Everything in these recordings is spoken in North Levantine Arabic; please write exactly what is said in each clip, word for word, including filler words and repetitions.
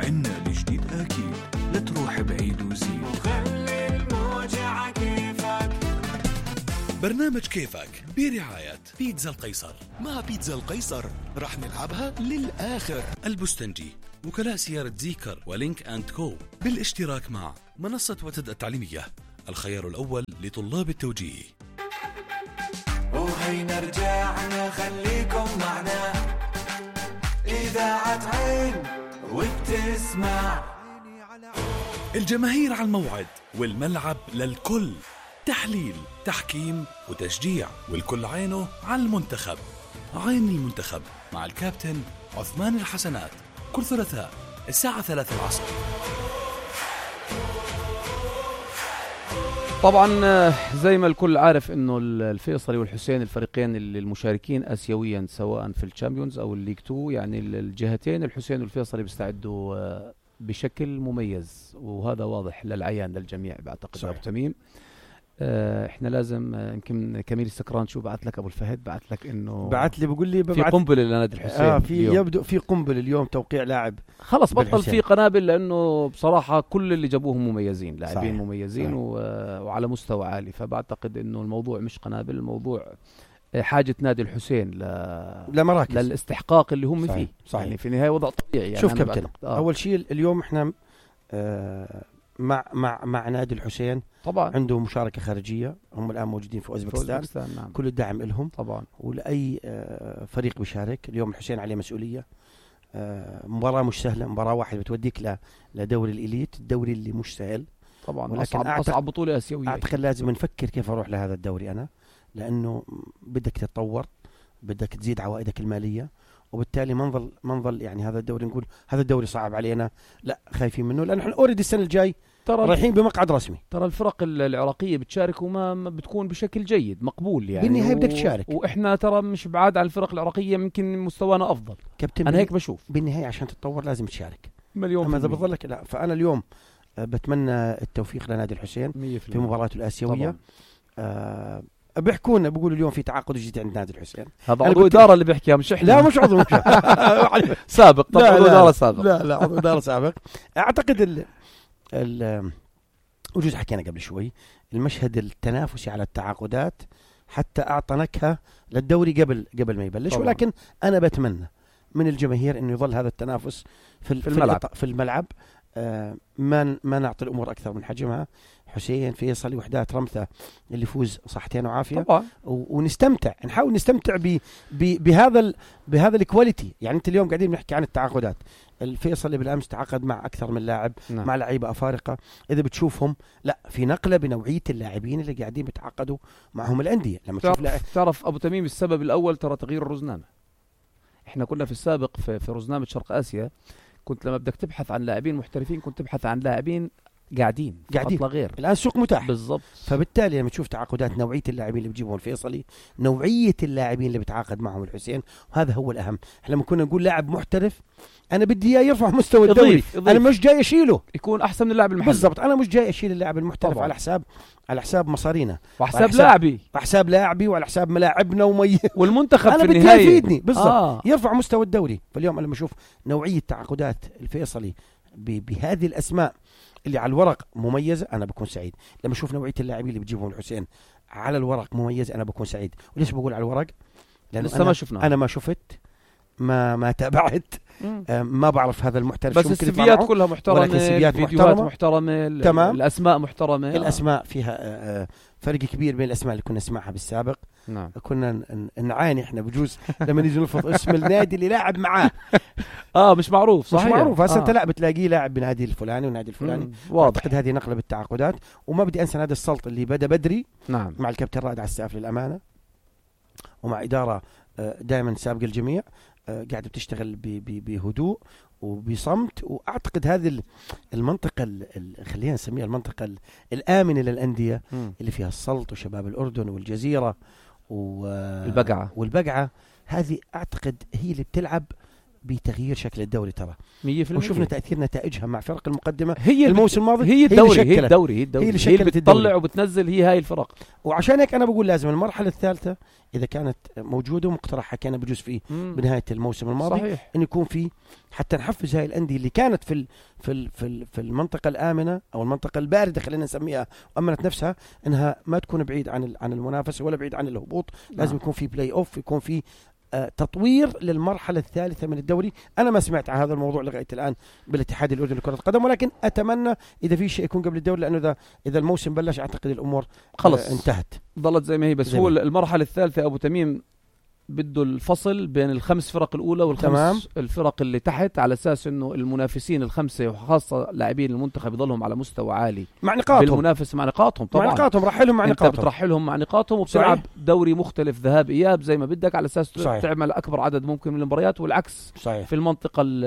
عنا الجديد أكيد، لا تروح بعيد وزيد وخلي الموجة كيفك. برنامج كيفك برعاية بيتزا القيصر. مع بيتزا القيصر رح نلعبها للآخر. البستنجي، وكلاء سيارة زيكر ولينك أند كو، بالاشتراك مع منصة وتد التعليمية، الخيار الأول لطلاب التوجيه. وهينا رجعنا خليكم معنا، إذاعة عين وبتسمع. الجماهير على الموعد والملعب للكل، تحليل، تحكيم وتشجيع، والكل عينه على المنتخب. عين المنتخب مع الكابتن عثمان الحسنات، كل ثلاثاء الساعة ثلاثة العصر. طبعا زي ما الكل عارف انه الفيصلي والحسين الفريقين المشاركين اسيويا سواء في الشامبيونز او الليج تو، يعني الجهتين الحسين والفيصلي بيستعدوا بشكل مميز، وهذا واضح للعيان للجميع بعتقد. ابو تميم اه احنا لازم يمكن كميل السكران شو بعت لك ابو الفهد، بعت لك انه بعت لي بقول لي في قنبله لنادي الحسين. اه في يبدو في قنبله اليوم، توقيع لاعب خلص بطل في قنابل، لانه بصراحه كل اللي جابوهم مميزين، لاعبين مميزين و... وعلى مستوى عالي، فبعتقد انه الموضوع مش قنابل، الموضوع حاجه نادي الحسين ل... لمراكز للاستحقاق اللي هم صحيح. فيه صحيح. يعني في النهايه وضع طبيعي. يعني شوف كابتن آه. اول شيء اليوم احنا آه مع مع مع نادي الحسين طبعا عنده مشاركه خارجيه، هم الان موجودين في اوزبكستان، نعم. كل الدعم لهم طبعا، ولاي آه فريق بيشارك. اليوم الحسين عليه مسؤوليه، آه مباراه مش سهله، مباراه واحده بتوديك ل لدوري الإليت، الدوري اللي مش سهل طبعا، ولكن اصعب أعتق... اصعب بطوله اسيويه. اعتقد لازم نفكر كيف اروح لهذا الدوري انا، لانه بدك تتطور، بدك تزيد عوائدك الماليه، وبالتالي ما نظل ما نظل يعني هذا الدوري نقول هذا الدوري صعب علينا، لا خايفين منه، لأن احنا اوريدي السنه الجاي رايحين بمقعد رسمي. ترى الفرق العراقيه بتشارك وما بتكون بشكل جيد مقبول يعني، بالنهايه بدك تشارك، واحنا ترى مش بعاد عن الفرق العراقيه، يمكن مستوانا افضل كابتن. انا هيك بشوف، بالنهايه عشان تتطور لازم تشارك مليون. اما اذا بظلك لا، فانا اليوم بتمنى التوفيق لنادي الحسين في مباراته الاسيويه. آه بيحكونا بيقولوا اليوم في تعاقد جديد عند نادي الحسين، هذا عضو اداره اللي بيحكيها مش احنا. لا مش عضو مش سابق طبعا، عضو اداره سابق. لا لا عضو اداره سابق. اعتقد ال ال وجوز حكينا قبل شوي المشهد التنافسي على التعاقدات حتى اعطى نكهه للدوري قبل قبل ما يبلش طبعا. ولكن انا بتمنى من الجماهير انه يظل هذا التنافس في في الملعب, في الملعب. آه ما ما نعطي الامور اكثر من حجمها. حسين فيصلي وحدات رمثة اللي يفوز صحتين وعافيه طبعا، ونستمتع، نحاول نستمتع ب بهذا ال بهذا الكواليتي. يعني انت اليوم قاعدين بنحكي عن التعاقدات، الفيصلي بالامس تعاقد مع اكثر من لاعب، نعم. مع لعيبه افارقه، اذا بتشوفهم لا في نقله بنوعيه اللاعبين اللي قاعدين بيتعاقدوا معهم الانديه. لما تشوف تعرف, تعرف ابو تميم السبب الاول ترى تغيير الرزنامه. احنا كنا في السابق في, في رزنامه شرق اسيا، كنت لما بدك تبحث عن لاعبين محترفين كنت تبحث عن لاعبين قاعدين قاعدين غير. الان سوق متاح بالضبط، فبالتالي لما تشوف تعاقدات نوعيه اللاعبين اللي بيجيبهم الفيصلي، نوعيه اللاعبين اللي بيتعاقد معهم الحسين، وهذا هو الاهم. احنا لما كنا نقول لاعب محترف انا بدي اياه يرفع مستوى الدوري، يضيف. يضيف. انا مش جاي اشيله، يكون احسن من اللاعب المحلي. بالضبط، انا مش جاي اشيل اللاعب المحترف طبعا. على حساب على حساب مصارينا وحساب لاعبي وحساب لاعبي وعلى حساب ملاعبنا ومي والمنتخب أنا في النهايه يفيدني بالضبط آه. يرفع مستوى الدوري. فاليوم انا لما اشوف نوعيه تعاقدات الفيصلي بهذه الاسماء اللي على الورق مميزة أنا بكون سعيد. لما أشوف نوعية اللاعبين اللي بيجيبهم الحسين على الورق مميز أنا بكون سعيد. وليش بقول على الورق؟ لأنه لسه ما شفنا، أنا ما شفت ما ما تابعت ما بعرف هذا المحترف، بس السيفيات كلها محترمة، فيديوهات محترمة, محترمة تمام. الأسماء محترمة، الأسماء فيها فرق كبير بين الأسماء اللي كنا نسمعها بالسابق. نعم. كنا نعاني احنا بجوز لما نيجي نلفظ اسم النادي اللي لاعب معاه اه مش معروف صحيح، مش معروف هسه آه. انت لا بتلاقيه لاعب بنادي الفلاني ونادي الفلاني. اعتقد هذه نقله بالتعاقدات. وما بدي انسى نادي السلط اللي بدا بدري، نعم. مع الكابتن رائد عساف للامانه، ومع اداره دائما سابقه الجميع، قاعده بتشتغل بهدوء وبصمت. واعتقد هذه المنطقه خلينا نسميها المنطقه الامنه للانديه م. اللي فيها السلط وشباب الاردن والجزيره والبقعه والبقعه هذه اعتقد هي اللي بتلعب بتغيير شكل الدوري ترى، مية بالمية. وشفنا تأثير نتائجها مع فرق المقدمة هي الموسم الماضي. هي الدوري هي, هي الدوري هي الدوري هي اللي هي اللي شكلت بتطلع الدوري. وبتنزل هي هاي الفرق. وعشان هيك أنا بقول لازم المرحلة الثالثة إذا كانت موجودة ومقترحة كان بجوز فيه مم. بنهاية الموسم الماضي صحيح. إن يكون في حتى نحفز هاي الأندية اللي كانت في ال في ال في, ال في المنطقة الآمنة أو المنطقة الباردة خلينا نسميها وأمنت نفسها إنها ما تكون بعيد عن ال- عن المنافسة ولا بعيد عن الهبوط. لازم نعم. يكون في بلاي أوف، يكون في آه تطوير للمرحلة الثالثة من الدوري. أنا ما سمعت عن هذا الموضوع لغاية الآن بالاتحاد الأردني لكرة القدم، ولكن أتمنى إذا في شيء يكون قبل الدوري، لأنه إذا إذا الموسم بلش أعتقد الأمور خلص آه انتهت. ضلت زي ما هي. بس زي هو ما. المرحلة الثالثة أبو تميم بده الفصل بين الخمس فرق الأولى والخمس تمام. الفرق اللي تحت، على أساس إنه المنافسين الخمسة وخاصة لاعبين المنتخب يضلهم على مستوى عالي مع نقاطهم بالمنافسة مع نقاطهم. طبعا مع نقاطهم رحلهم مع انت نقاطهم. بترحلهم مع نقاطهم وبتلعب صحيح. دوري مختلف ذهاب إياب زي ما بدك، على أساس صحيح. تعمل أكبر عدد ممكن من المباريات، والعكس صحيح. في المنطقة ال-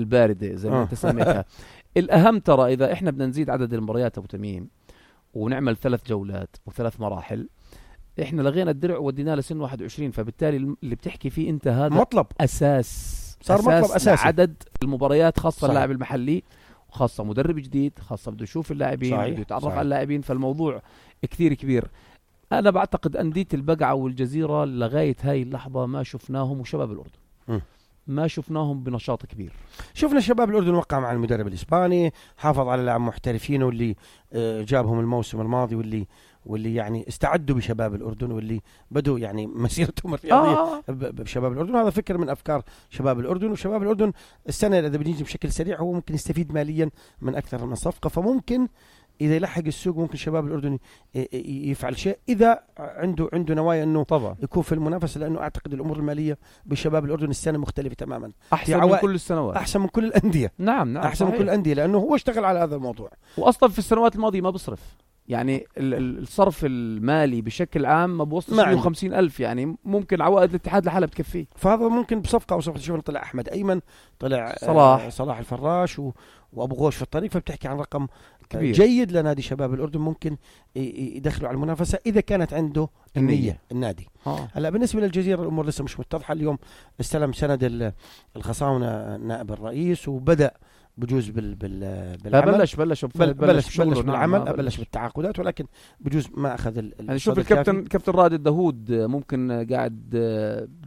الباردة زي ما آه. انت سميتها. الأهم ترى إذا إحنا بدنا نزيد عدد المباريات أبو تميم ونعمل ثلاث جولات وثلاث مراحل، إحنا لغينا الدرع وديناه لسن واحد وعشرين، فبالتالي اللي بتحكي فيه أنت هذا مطلب أساس صار مطلب أساسي. عدد المباريات، خاصة صحيح. اللاعب المحلي وخاصة مدرب جديد، خاصة بده يشوف اللاعبين، صحيح. بده يتعرف صحيح. على اللاعبين، فالموضوع كثير كبير. أنا بعتقد أندية البقعة والجزيرة لغاية هاي اللحظة ما شفناهم، وشباب الأردن م. ما شفناهم بنشاط كبير. شفنا شباب الأردن وقع مع المدرب الإسباني، حافظ على لاعب محترفين واللي آه، جابهم الموسم الماضي، واللي واللي يعني استعدوا بشباب الأردن، واللي بدوا يعني مسيرتهم الرياضية آه. ب- ب- بشباب الأردن. هذا فكر من أفكار شباب الأردن. وشباب الأردن السنة إذا بنيجي بشكل سريع هو ممكن يستفيد ماليا من أكثر من صفقة، فممكن إذا يلحق السوق ممكن شباب الأردن ي- ي- يفعل شيء إذا عنده عنده نوايا إنه طبعا يكون في المنافسة، لأنه أعتقد الأمور المالية بشباب الأردن السنة مختلفة تماما، أحسن من عوائل- كل السنوات. أحسن من كل الأندية، نعم نعم أحسن من صحيح. كل الأندية، لأنه هو اشتغل على هذا الموضوع. وأصلا في السنوات الماضية ما بصرف، يعني ال- ال- الصرف المالي بشكل عام ما بوصلش ما عنده. مية وخمسين ألف، يعني ممكن عوائد الاتحاد لحالها بتكفيه. فهذا ممكن بصفقة أو صفقة. شوفنا طلع أحمد أيمن، طلع صلاح. آه صلاح الفراش و... وأبو غوش في الطريق، فبتحكي عن رقم كبير. جيد لنادي شباب الأردن، ممكن ي- ي- يدخلوا على المنافسة إذا كانت عنده النية, النية. النادي. آه. هلا بالنسبة للجزيرة الأمور لسه مش متضحة. اليوم استلم سند ال- الخصاونة نائب الرئيس وبدأ بجوز بال بال لا بالعمل. بلش بلش بل بلش شغله. بلش نعم، بالعمل، ما بلش بالتعاقدات، ولكن بجوز ما أخذ ال- يعني شوف الصدى الكابتن الكافي، كابتن رائد الدهود ممكن قاعد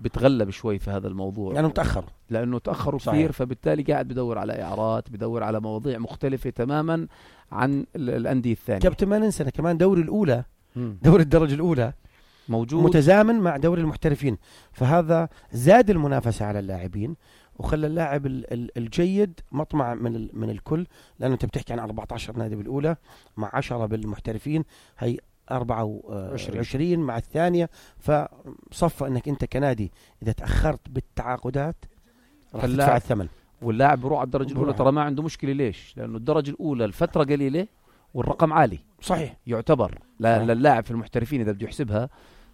بتغلب شوي في هذا الموضوع، لأنه متأخر. لانه تاخروا صحيح. كثير، فبالتالي قاعد بدور على اعارات، بدور على مواضيع مختلفه تماما عن ال- الانديه الثانيه. كابتن ما ننسى كمان دوري الأولى، مم. دوري الدرجة الأولى موجود متزامن مع دوري المحترفين، فهذا زاد المنافسة على اللاعبين وخلى اللاعب ال- ال- الجيد مطمع من ال- من الكل، لأنه أنت بتحكي عن أربعة عشر نادي بالأولى مع عشرة بالمحترفين، هي أربعة وعشرين مع الثانية. فصفى أنك أنت كنادي إذا تأخرت بالتعاقدات راح فاللاعب- تدفع الثمن. واللاعب بروح على الدرجه الاولى بروح. ترى ما عنده مشكله. ليش؟ لانه الدرجه الاولى الفتره قليله والرقم عالي صحيح. يعتبر لا صحيح. للاعب في المحترفين اذا بده يحسبها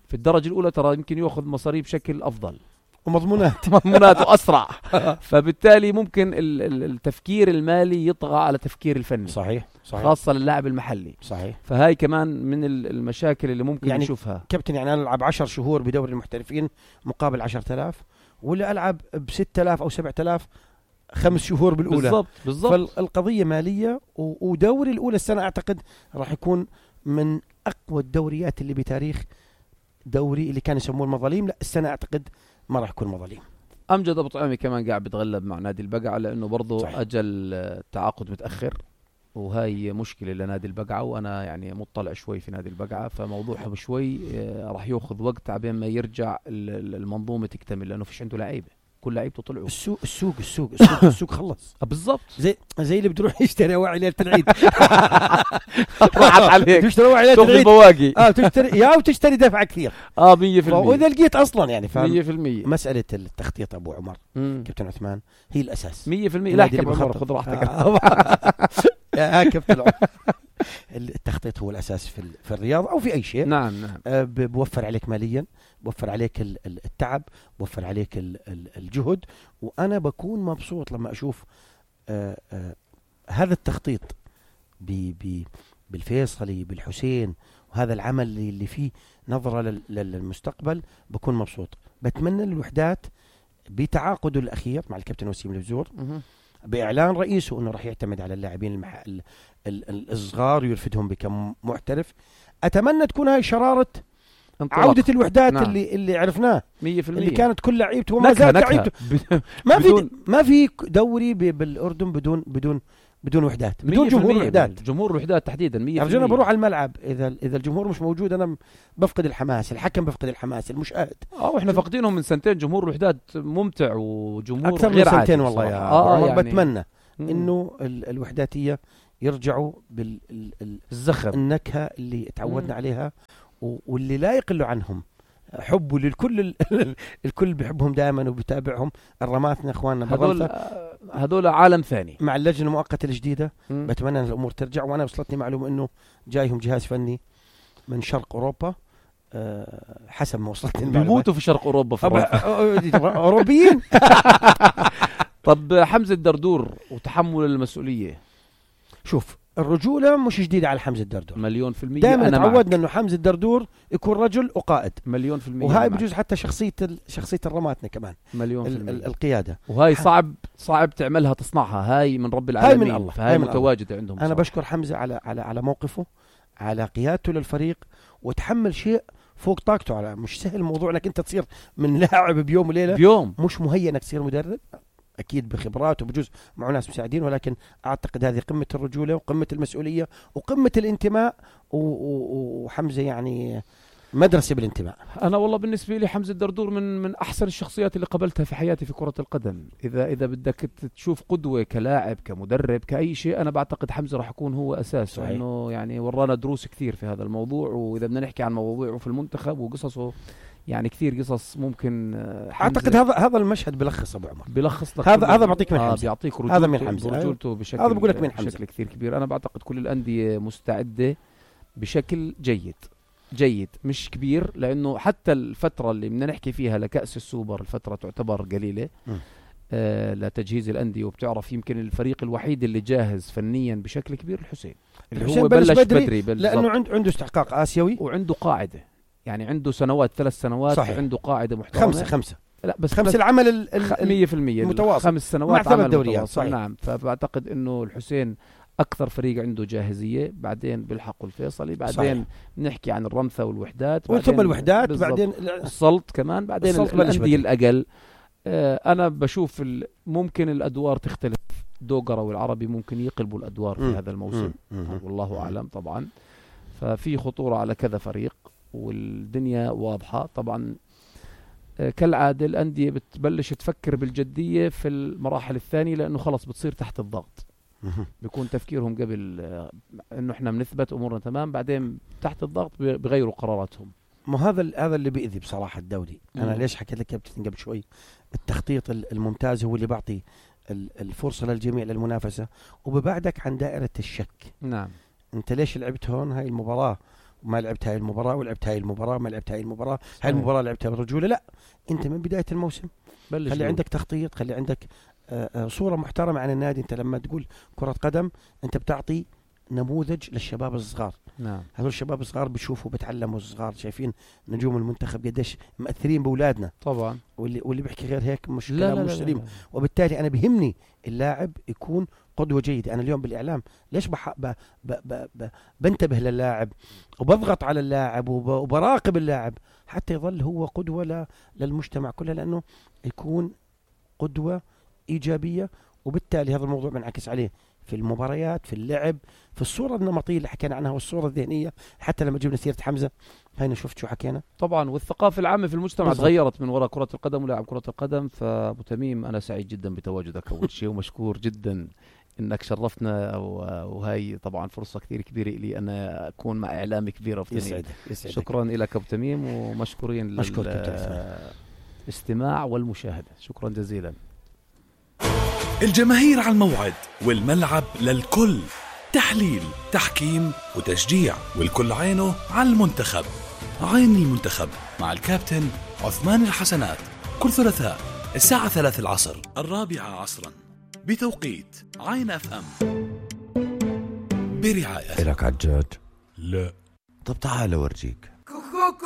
في الدرجه الاولى ترى يمكن ياخذ مصاري بشكل افضل، ومضمونات. مضموناته اسرع، فبالتالي ممكن ال- ال- التفكير المالي يطغى على تفكير الفني، صحيح. صحيح. خاصه للاعب المحلي. صحيح. فهاي كمان من ال- المشاكل اللي ممكن يعني نشوفها. كابتن يعني أنا ألعب عشر شهور بدوري المحترفين مقابل عشرة آلاف، ولا ألعب بستة آلاف أو سبعة آلاف خمس شهور بالأولى. بالضبط بالضبط. فالقضية مالية. و- ودوري الأولى السنة أعتقد راح يكون من أقوى الدوريات اللي بتاريخ دوري اللي كان يسموه المظاليم. لا السنة أعتقد ما راح يكون مظاليم. امجد ابو طعيمي كمان قاعد بتغلب مع نادي البقعه، لانه برضه صحيح. اجل التعاقد متاخر، وهي مشكله لنادي البقعه، وانا يعني مطلع شوي في نادي البقعه، فموضوعهم شوي آه، راح ياخذ وقت عبين ما يرجع ال- ال- المنظومه تكتمل، لانه فيش عنده لعيبه، كل لعيبته طلعوا. السوق السوق السوق السوق, السوق خلص. آه، بالضبط. زي زي اللي بده يروح يشتري واعي ليلة العيد. راحت عليك. بده يشتري واعي ليلة شوف العيد. البواقي. اه بتشتري يا وتشتري دفع كثير. اه مية بالمية. واذا لقيت اصلا يعني فاهم. مية بالمية. مسألة التخطيط ابو عمر مم. كابتن عثمان هي الاساس. مية بالمية. لا النادي احكي اللي بعمر، بخطط. خذ راحتك. آه. يا كابتن عمر. التخطيط هو الاساس في ال- في الرياضه او في اي شيء. نعم نعم. آه، ب- بوفر عليك ماليا، بوفر عليك ال- ال- التعب، بوفر عليك ال- ال- الجهد. وانا بكون مبسوط لما اشوف آه، آه، هذا التخطيط ب- ب- بالفيصلي بالحسين، وهذا العمل اللي اللي فيه نظرة لل- لل- للمستقبل. بكون مبسوط. بتمنى للوحدات بتعاقده الأخير مع الكابتن وسيم البزور بإعلان رئيسه أنه راح يعتمد على اللاعبين المح... ال... ال... ال... الصغار ويرفدهم بكم محترف. أتمنى تكون هاي شرارة انطلق. عودة الوحدات نعم. اللي اللي عرفناه مية في المية اللي كانت كل لعيبته وما زالت لعيبته. ما في ما في دوري بالأردن بدون بدون بدون وحدات، بدون جمهور الوحدات. جمهور الوحدات تحديدا مية في المية. أنا بروح على الملعب إذا إذا الجمهور مش موجود أنا بفقد الحماس، الحكم بفقد الحماس، المشاهد. اه واحنا فاقدينهم من سنتين. جمهور الوحدات ممتع وجمهور أكثر غير من سنتين عادي والله يا آه عمر. يعني بتمنى مم. إنه ال الوحداتية يرجعوا بالزخم النكهة اللي تعودنا مم. عليها واللي لا يقل عنهم حبه للكل. الكل بيحبهم دائما وبيتابعهم. الرماتنا اخواننا هذول هذول عالم ثاني مع اللجنه المؤقته الجديده. مم. بتمنى ان الامور ترجع. وانا وصلتني معلومه انه جايهم جهاز فني من شرق اوروبا أه حسب ما وصلتني المعلومه. بيموتوا في شرق اوروبا في اوروبيين. طب حمزه الدردور وتحمل المسؤوليه. شوف الرجولة مش جديدة على حمزة الدردور مليون في المية. دائما تعودنا انه حمزة الدردور يكون رجل وقائد مليون في المية. وهاي بجوز حتى شخصية شخصية الرماتنا كمان مليون في المية. القيادة وهاي صعب صعب تعملها تصنعها. هاي من رب العالمين. هاي من الله. فهاي متواجدة الله. عندهم أنا صعب. بشكر حمزة على على على موقفه، على قيادته للفريق، وتحمل شيء فوق طاقته. على مش سهل الموضوع انك انت تصير من لاعب بيوم وليلة بيوم. مش مهيئ انك تصير مدرب. أكيد بخبرات وبجوز مع ناس مساعدين، ولكن أعتقد هذه قمة الرجولة وقمة المسؤولية وقمة الانتماء. وحمزة يعني مدرسة بالانتماء. أنا والله بالنسبة لي حمزة الدردور من من أحسن الشخصيات اللي قابلتها في حياتي في كرة القدم. إذا إذا بدك تشوف قدوة كلاعب كمدرب كأي شيء، أنا بعتقد حمزة راح يكون هو أساس. إنه يعني ورانا دروس كثير في هذا الموضوع. وإذا بدنا نحكي عن مواضيعه في المنتخب وقصصه يعني كثير قصص ممكن. اعتقد هذا هذا المشهد بلخص ابو عمر. بلخص لك هذا هذا بعطيك من آه حمزة. بيعطيك رجولته. هذا من حمزة رجولته بشكل هذا بقول لك من حمزة بشكل كثير كبير. انا بعتقد كل الانديه مستعده بشكل جيد جيد مش كبير، لانه حتى الفتره اللي بدنا نحكي فيها لكأس السوبر الفتره تعتبر قليله آه لتجهيز الانديه. وبتعرف يمكن الفريق الوحيد اللي جاهز فنيا بشكل كبير الحسين اللي هو بلش بدري, بدري لانه عنده عنده استحقاق اسيوي وعنده قاعده. يعني عنده سنوات ثلاث سنوات صحيح. عنده قاعدة محترمة. خمسة خمسة لا بس خمس العمل مية في المية المتواصل خمس سنوات عمل دوريات صحيح. نعم. فبعتقد انه الحسين اكثر فريق عنده جاهزية. بعدين بيلحقوا الفيصلي، بعدين صحيح. نحكي عن الرمثة والوحدات، ثم الوحدات، بعدين السلط كمان، بعدين الأندية الأقل. آه انا بشوف ممكن الادوار تختلف. دوغرة والعربي ممكن يقلبوا الادوار في م. هذا الموسم م. م. والله اعلم طبعا. ففي خطورة على كذا فريق والدنيا واضحة طبعا. كالعادة الأندية بتبلش تفكر بالجدية في المراحل الثانية، لأنه خلص بتصير تحت الضغط. بيكون تفكيرهم قبل أنه إحنا بنثبت أمورنا تمام، بعدين تحت الضغط بغيروا قراراتهم. ما هذا هذا اللي بيأذي بصراحة الدوري. أنا ليش حكيت لك كابتن قبل شوي؟ التخطيط الممتاز هو اللي بعطي الفرصة للجميع للمنافسة وببعدك عن دائرة الشك. نعم. أنت ليش لعبت هون هاي المباراة وما لعبت هاي المباراة، ولعبت هاي المباراة ما لعبت هاي المباراة، هاي المباراة لعبتها بالرجولة؟ لا، أنت من بداية الموسم خلي عندك تخطيط، خلي عندك آآ آآ صورة محترمة عن النادي. أنت لما تقول كرة قدم أنت بتعطي نموذج للشباب الصغار. نعم. هذول الشباب الصغار بيشوفوا بتعلموا الصغار، شايفين نجوم المنتخب قديش مؤثرين بأولادنا طبعا. واللي واللي بيحكي غير هيك مش كلام مش سليم. وبالتالي أنا بهمني اللاعب يكون قدوة جيدة. أنا اليوم بالإعلام ليش بح... ب... ب... ب... ب... بنتبه للاعب وبضغط على اللاعب وب... وبراقب اللاعب حتى يظل هو قدوة ل... للمجتمع كله، لأنه يكون قدوة إيجابية. وبالتالي هذا الموضوع بنعكس عليه في المباريات، في اللعب، في الصورة النمطية اللي حكينا عنها والصورة الذهنية. حتى لما جبنا سيرة حمزة هينا شفت شو حكينا طبعا. والثقافة العامة في المجتمع تغيرت من وراء كرة القدم ولاعب كرة القدم. فأبو تميم أنا سعيد جدا بتواجدك أول شيء، ومشكور جدا إنك شرفتنا، وهي طبعا فرصة كثير كبيرة لي أنا أكون مع إعلامي كبير. يسعدك. شكرا لك أبو تميم، ومشكورين للاستماع والمشاهدة. شكرا جزيلا. الجماهير على الموعد والملعب للكل، تحليل، تحكيم وتشجيع، والكل عينه على المنتخب. عين المنتخب مع الكابتن عثمان الحسنات كل ثلاثاء الساعة ثلاث العصر الرابعة عصرا بتوقيت عين اف ام برعاية. إلك عجاج؟ لا. طب تعال أورجيك.